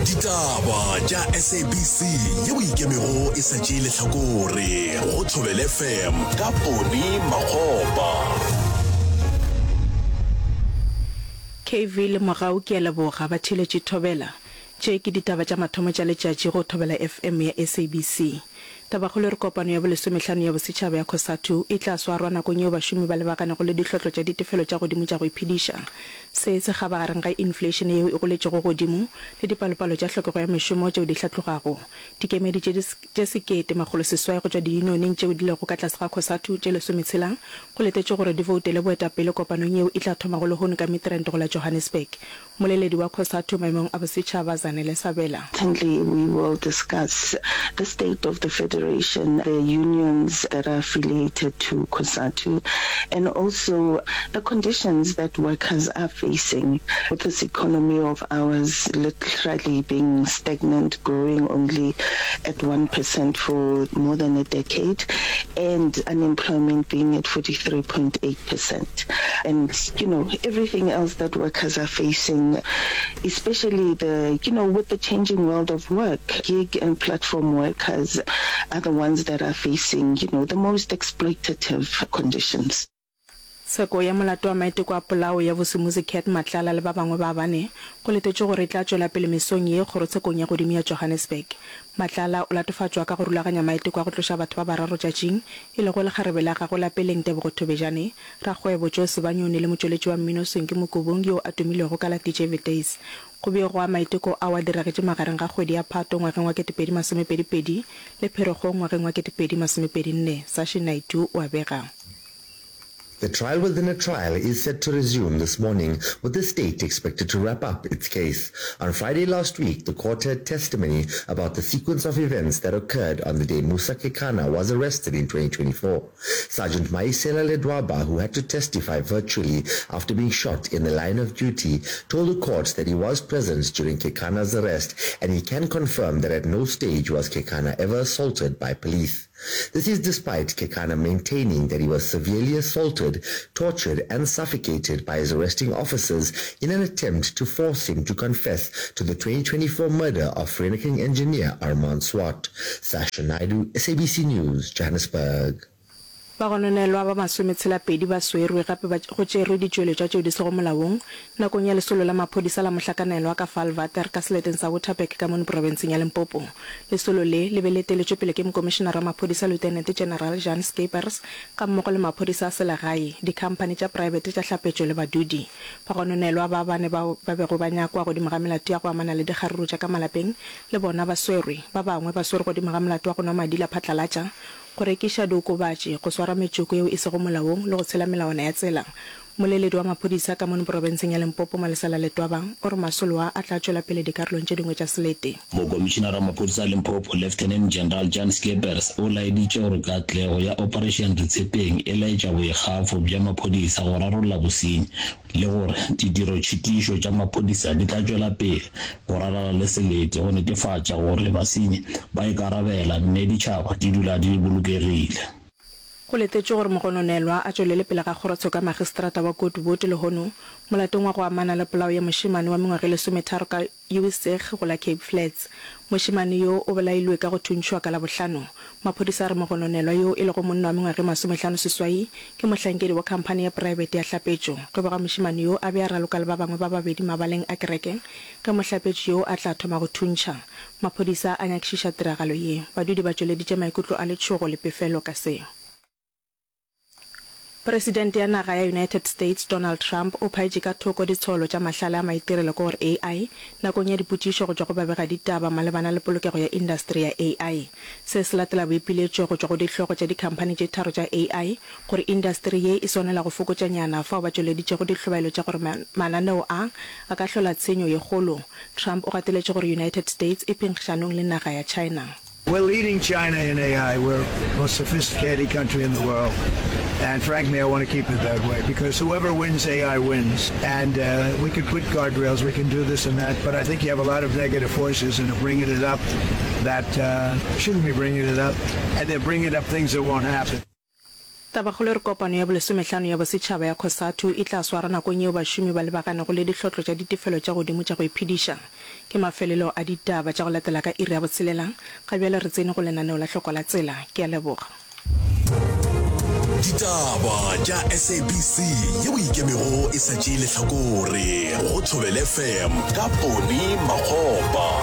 Ditaba tša SABC yeo e ikemego e sa tšee lehlakore go Thobela FM ka Poni Makgopa. KV le Mogau ke a leboga ba theeletše Thobela. Tše ke ditaba tša mathomo tša letšatši go Thobela FM ya SABC. Tabakgolo e re kopano ya bolesomehlano ya bosetšhaba ya Cosatu e tla swarwa nakong yeo bašomi ba lebaganego le dihlotlo tša ditefelo tša godimo tša go iphediša. Se se kgabagareng ga infleišene yeo e goletšego godimo le dipalopalo tša hlokego ya mešomo tšeo di hlatlogago. Dikemedi tše tše 1800 go tšwa diyunioneng tšeo di lego ka tlase ga Cosatu tše lesometshela go letetšwe gore di voutele boetapele kopanong yeo e tla thomago lehono ka Midrand go la Johannesburg. Mmoleledi wa Cosatu maemong a bosetšhaba Zanele Sabela. Currently we will discuss the state of the federation, the unions that are affiliated to Cosatu and also the conditions that workers are facing with this economy of ours literally being stagnant, growing only at 1% for more than a decade and unemployment being at 43.8%. And, you know, everything else that workers are facing, especially the, you know, with the changing world of work, gig and platform workers are the ones that are facing, you know, the most exploitative conditions. Tsheko ya molato wa maiteko a polao ya Vusimuzi Cat Matlala le ba bangwe ba bane go letetšwe gore e tla tšwela pele mesong ye kgorotshekong ya godimo ya Johannesburg. Matlala o latofatšwa ka go rulaganya maiteko a go tloša batho ba bararo tšatšing, e lego lekgarebe la gagwe la peleng Tebogo Thobejane, rakgwebo Joe Sebanyoni le motšweletši wa mmino Swinky Mokubung yo a tumilego ka la DJ Vitays. Go begwa maiteko ao a diragetše magareng ga kgwedi ya Phato ngwageng wa 2022 le Pherekgong ngwageng wa 2024, Sashin Naidoo o a bega. The trial within a trial is set to resume this morning, with the state expected to wrap up its case. On Friday last week, the court heard testimony about the sequence of events that occurred on the day Musa Kekana was arrested in 2024. Sergeant Maisela Ledwaba, who had to testify virtually after being shot in the line of duty, told the court that he was present during Kekana's arrest and he can confirm that at no stage was Kekana ever assaulted by police. This is despite Kekana maintaining that he was severely assaulted, tortured and suffocated by his arresting officers in an attempt to force him to confess to the 2024 murder of Vereeniging engineer Armand Swart. Sasha Naidoo, SABC News, Johannesburg. Bagononelwa ba masometshela-pedi ba swerwe gape ba go tšerwe ditšweletšwa tšeo di sego molaong nakong ya lesolo la maphodisa la mohlakanelwa ka Vaalwater ka seleteng sa Waterberg ka mono profenseng ya Limpopo. Lesolo le le be le eteletšwe pele ke Mokomišenara wa Maphodisa Lieutenant General Jan Scheepers gammogo le maphodisa a selegae, dikhamphani tša praebete tša hlapetšo le badudi. Bagononelwa ba bane bao ba bego ba nyakwa godimo ga melato ya go amana le dikgaruru tša ka malapeng le bona ba swerwe. Ba bangwe ba swerwe godimo ga molato wa go nwa madila phatlalatša, go rekiša diokobatši, go swara metšoko yeo e sego molaong le go tshela melawana ya tsela. Mmoleledi wa maphodisa ka mono profenseng ya Limpopo, Malesela Letwaba, o re masolo a a tla tšwela pele dikarolong tše dingwe tša selete. Mokomišinara wa maphodisa a Limpopo, Lieutenant General Jan Schippers, o laeditše gore katlego ya Operation Retshepeng e laetša boikgafo bja maphodisa go rarolla bosenyi le gore ditirotšhitišo tša maphodisa di tla tšwela pele go rarala le selete go netefatša gore basenyi ba ikarabela mme ditšhaba di dula di bolokegile. Go letetšwe gore mogononelwa a tšwelele pele ga kgorotsheko ya magistrata wa Goodwood lehono molatong wa go amana le polao ya mošemane wa mengwaga e lesometharo ka Uwitsig go la Cape Flats. Mošemane yo o bolailwe ka go thuntšhwa ka Labohlano. Maphodisa a re mogononelwa yo e lego monna wa mengwaga e masomehlano-seswai ke mohlankedi wa khamphani ya praebete ya hlapetšo. Go begwa mošemane yo a be a raloka le ba bangwe ba babedi mabaleng a kereke ge mohlapetši yo a tla thoma go thuntšha. Maphodisa a nyakišiša tiragalo ye. Badudi ba tšweleditše maikutlo a letšhogo le pefelo ka se. Presidente ya naga ya United States Donald Trump o phaetše ka thoko ditsholo tša mahlale a maitirelo ke gore AI nakong ya dipotšišo go tšwa go babegaditaba malebana le polokego ya indasteri ya AI. Se se latela boipiletšo go tšwa go dihlogo tša dikhamphani tše tharo tša AI gore indasteri ye e swanela go fokotšanyana fao ba tšweleditšego dihlobaelo tša gore mananeo a a ka hlola tshenyo ye kgolo. Trump o gateletše gore United States e phenkgišanong le naga ya China. We're leading China in AI. We're the most sophisticated country in the world. And frankly, I want to keep it that way because whoever wins AI wins. And uh, we can put guardrails, we can do this and that. But I think you have a lot of negative forces and are bringing it up that uh, shouldn't be bringing it up. And they're bringing up things that won't happen. Tabakgolo e re kopano ya bolesomehlano ya bosetšhaba ya Cosatu e tla swarwa nakong yeo bašomi ba lebaganego le dihlotlo tša ditefelo tša godimo tša go iphediša. Ke mafelelo a ditaba tša go latela ka iri ya botshelela. Ga bjale re tsene go lenaneo la Hloko la Tsela. Ke a leboga. Ditaba tša SABC yeo e ikemego e sa tšee lehlakore go Thobela FM ka Ponny Makgopa.